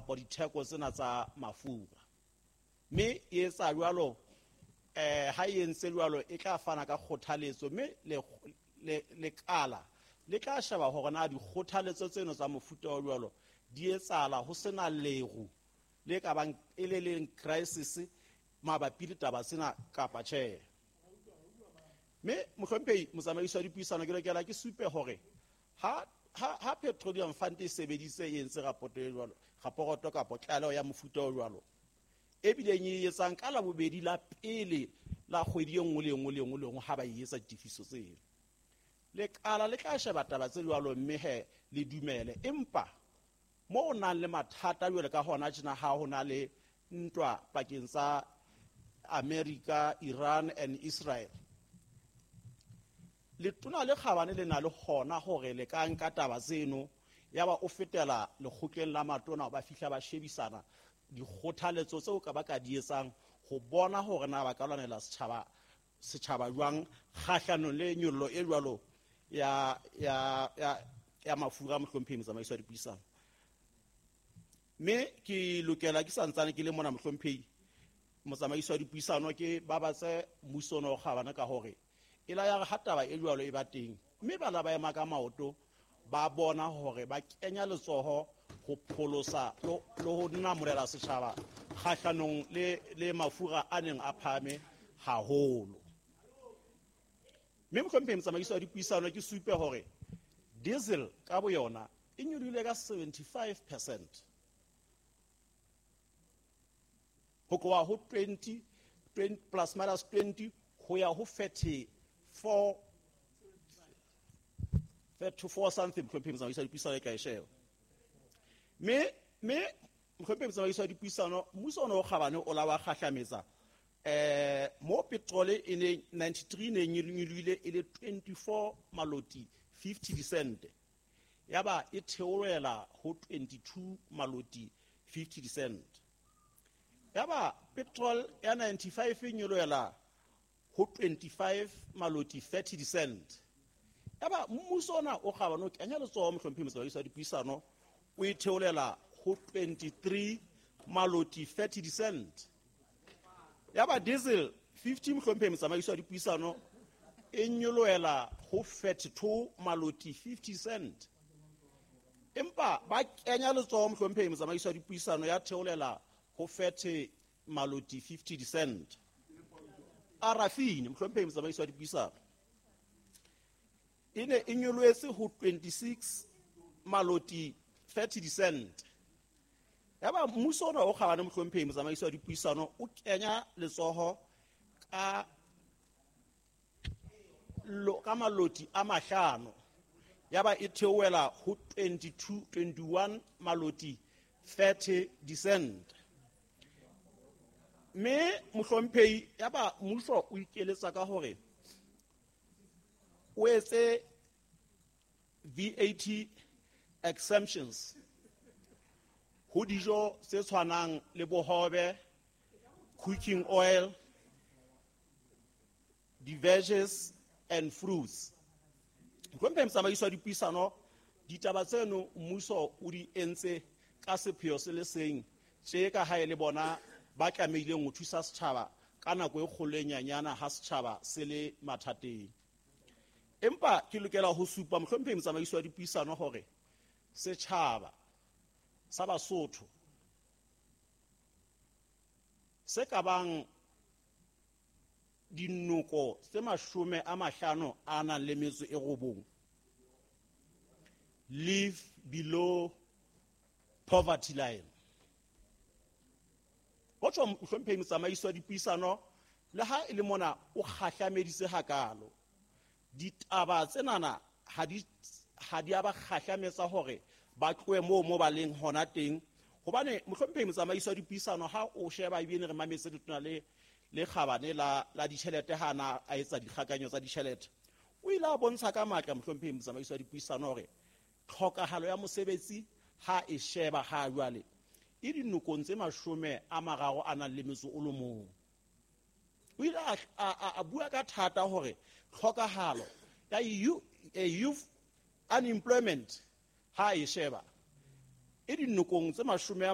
kapa ditheko tsena tsa mafura. Mme e etsa jwalo, ha e entse jwalo e tla fana ka kgothaletso, mme lekala le tla sheba hore na dikgothaletso tseno tsa mofuta o jwalo di etsahala ho sena leru le ka bang e le leng crisis mabapi le taba tsena kapa tjhe. Mme mohlomphehi motsamaisi wa dipuisano, ke lokela ke supe hore ha Petroleum Fund e sebeditse e entse rapoto e jwalo, raporoto kapa tlaleho ya mofuta o jwalo, e bileng e etsang ka Labobedi la pele la kgwedi e nngwe le nngwe le nngwe le nngwe ha ba e etsa ditefiso tseo, lekala le tla sheba taba tse jwalo mme he le dumele. Empa mo o nang le mathata jwale ka hona tjena, ha ho na le ntwa pakeng tsa America, Iran and Israel, letona le kgabane le na le hona hore le ka nka taba tseno ya ba o fetela lekgotleng la matona, ba fihla ba shebisana dikgothaletso tseo ka ba ka di etsang ho bona hore na ba ka lwanela setjhaba jwang kgahlanong le nyollo e jwalo ya mafura. Mohlomphehi motsamaisi wa dipuisano, mme ke lokela ke santsane ke le mona, mohlomphehi motsamaisi wa dipuisano, ke babatse mmuso ona o kgabane ka hore e la ya re ha taba e jwalo e ba teng, mme bana ba ema ka maoto, ba bona hore ba kenya letsoho ho pholosa le ho namolela setjhaba kgahlanong le mafura a neng a phahame haholo. Mme mohlomphehi motsamaisi wa dipuisano, ke supe hore diesel ka boyona e nyolohile ka 75% ho tloha ho 20, 20 plus minus 20 ho ya ho 34, 34 something. Mohlomphehi motsamaisi wa dipuisano, e ka e sheba. Mme mohlomphehi motsamaisi wa dipuisano, mmuso ona o kgabane o la wa kgahlametsa mo petrol e ne 93 ne nyolohile e le 24 maloti 50 dicent, ya ba e theohela ho 22 maloti 50 dicent. Ya ba petrol ya 95 e nyolohela ho 25 maloti 30 dicent. Ya ba mmuso ona o kgabane o kenya letsoho, mohlomphehi motsamaisi wa dipuisano, o e theolela ho 23 maloti 30 dicent. Ya ba diesel 50, mohlomphehi motsamaisi wa dipuisano, e nyolohela ho 32 maloti 50 cent. Empa ba kenya letsoho, mohlomphehi motsamaisi wa dipuisano, ya theolela ho 30 maloti 50 cent. Paraffin, mohlomphehi motsamaisi wa dipuisano, e ne e nyolohetse ho 26 maloti 30 cent. Ya ba mmuso ona o kgabane, mohlomphehi motsamaisi wa dipuisano, o kenya letsoho ka maloti a mahlano, ya ba e theohela ho 22, 21 maloti 30 dicent. Mme mohlomphehi, ya ba mmuso o ikeletsa ka hore o etse VAT exemptions ho dijo tse tshwanang le bohobe, cooking oil, di-veggies and fruits. Mohlomphehi motsamaisi wa dipuisano, ditaba tseno mmuso o di entse ka sepheo se le seng tje ka ha e le bona ba tlamehileng ho thusa setjhaba ka nako e kgolo e nyanyana ha setjhaba se le mathateng. Empa ke lokela ho supa, mohlomphehi motsamaisi wa dipuisano, hore setjhaba sa Basotho se ka bang dinoko tse 59 live below poverty line. Ho tjho, mohlomphehi motsamaisi wa dipuisano, le ha e le mona o kgahlameditse hakalo, ditaba tsenana ha di a ba kgahlametsa hore ba tlohe moo mo ba leng hona teng. Hobane mohlomphehi motsamaisi wa dipuisano, ha o sheba ebile re mametse letona le kgabane la ditjhelete ha na a etsa dikgakanyo tsa ditjhelete, o ile a bontsha ka matla, mohlomphehi motsamaisi wa dipuisano, hore tlhokahalo ya mosebetsi ha e sheba ha jwale e dinokong tse 31. O ile a bua ka thata hore tlhokahalo ya youth unemployment ha e sheba e dinokong tse mashome a